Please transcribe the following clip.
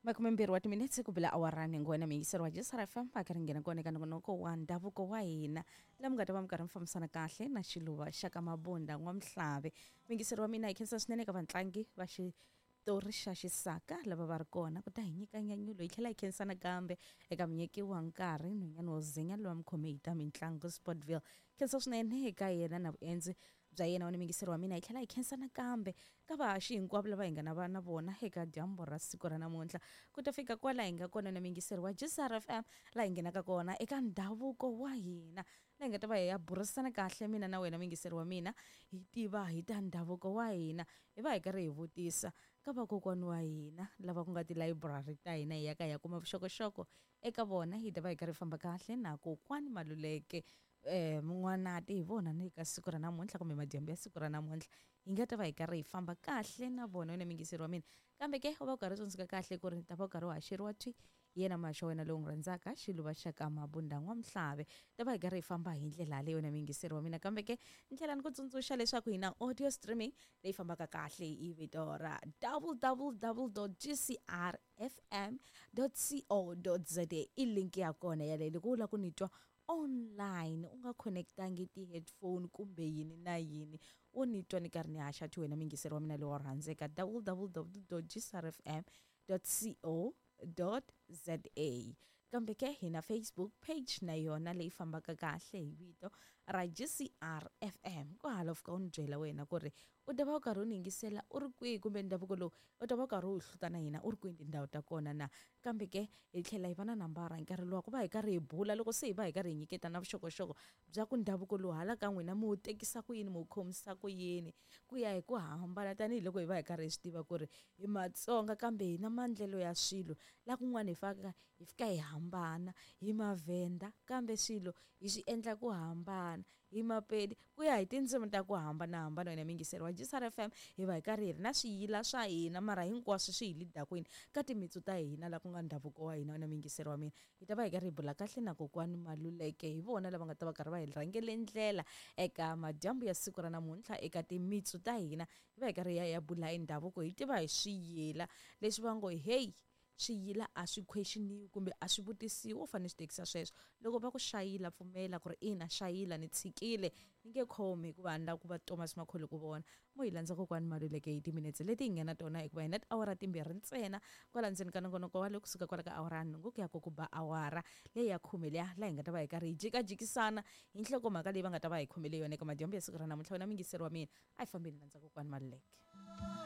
Makumembirhi wa timinetse ku bila awara nhungu wena muyingiseri wa JSR FM va karhi nghena kona eka nongonoko wa ndhavuko wa hina laha mi nga ta va mi karhi mi fambisana kahle na xiluva xa ka Mabunda N'wamhlave. Muyingiseri wa mina hi khensa swinene eka vatlangi va xitori xa xisaka lava va ri kona ku ta hi nyika nyanyulo hi tlhela hi khensa nakambe eka munyiki wa nkarhi nhwanyana wo zinya loyi a mi khome hi ta mitlangu Sportville. Khensa swinene eka yena na vuendzi bya yena wena muyingiseri wa mina hi tlhela hi khensa nakambe ka vahaxi hinkwavo lava hi nga na va na vona eka dyambu ra siku ra namuntlha ku ta fika kwala hi nga kona na muyingiseri wa GCR FM laha hi nghenaka kona eka ndhavuko wa hina laha hi nga ta va hi ya burisana kahle mina na wena muyingiseri wa mina hi tiva hi ta ndhavuko wa hina hi va hi karhi hi vutisa ka vakokwani wa hina lava ku nga tilayiburari ta hina hi ya ka hi ya kuma vuxokoxoko eka vona hi ta va hi karhi hi famba kahle na kokwani Maluleke Mun'wanati hi vona ni ka siku ra namuntlha kumbe madyambu ya siku ra namuntlha hi nga ta va hi karhi hi famba kahle na vona wena muyingiseri wa mina kambe ke u va u karhi u tsundzuka kahle ku ri ta va u karhi u haxeriwa thwi hi yena muhaxi wa wena lowu n'wi rhandzaka xiluva xa ka Mabunda N'wamhlave ta va hi karhi hi famba hi ndlela yaleyo wena muyingiseri wa mina kambe ke ni tlhela ni ku tsundzuxa leswaku hi na audio streaming leyi fambaka kahle hi vito ra www gcrfm co za i link ya kona yaleyo loko u lava ku ni twa online u nga connect-angi ti-headphone kumbe yini na yini u ni twa ni karhi ni haxa ti wena muyingiseri wa mina lowo rhandzeka www gsrfm co za kambe ke hi na Facebook page na yona leyi fambaka kahle hi vito ra GCR FM ku hala u fika u ni byela wena ku ri u ta va u karhi u ni yingisela u ri kwihi kumbe ndhavuko lowu u ta va u karhi u wu hluta na hina u ri kwihi tindhawu ta kona na kambe ke hi tlhela hi va na nambara hi nkarhi luwa ku va hi karhi hi bula loko se hi va hi karhi hi nyiketa na vuxokoxoko bya ku ndhavuko lowu hala ka n'wina mi wu tekisa ku yini mi wu khomisa ku yini ku ya hi ku hambana tanihiloko hi va hi karhi hi swi tiva ku ri hi Matsonga kambe hi na maendlelo ya swilo la kun'wana hi faka hi fika hi hambana hi Mavhenda kambe swilo hi swi endla ku hambana hi Mapedi ku ya hi tindzimi ta ku hambanahambana wena muyingiseri wa GCR FM hi va hi karhi hi ri na swiyila swa hina mara hinkwaswo swi hi lead-a kwini ka timitsu ta hina la ku nga ndhavuko wa hina wena muyingiseri wa mina hi ta va hi karhi hi bula kahle na kokwani Maluleke hi vona lava nga ta va karhi va hi rhangele ndlela eka madyambu ya siku ra namuntlha eka timitsu ta hina hi va hi karhi hi ya hi ya bula hi ndhavuko hi tiva hi swiyila leswi va ngo heyi Swiyila a swi khwexiniwi kumbe a swi vutisiwi, wo fanele swi tekisa sweswo. Loko va ku xayila pfumela ku ri ina xayila ni tshikile ni nge khomi hikuva a ni lavi ku va Thomas Makhole ku vona. Mo hi landza kokwani Maluleke hi timinetse leti hi nga na tona hikuva hi na tiawara timbirhi ntsena kwala ndzeni ka nongonoko wa le kusuka kwala ka awara ya nhungu ku ya ku ku ba awara leyi ya khume liya laha hi nga ta va hi karhi hi jikajikisana hi nhlokomhaka leyi va nga ta va hi khomele yona eka madyambu ya siku ra namuntlha. Wena muyingiseri wa mina a hi fambeni landza kokwani Maluleke.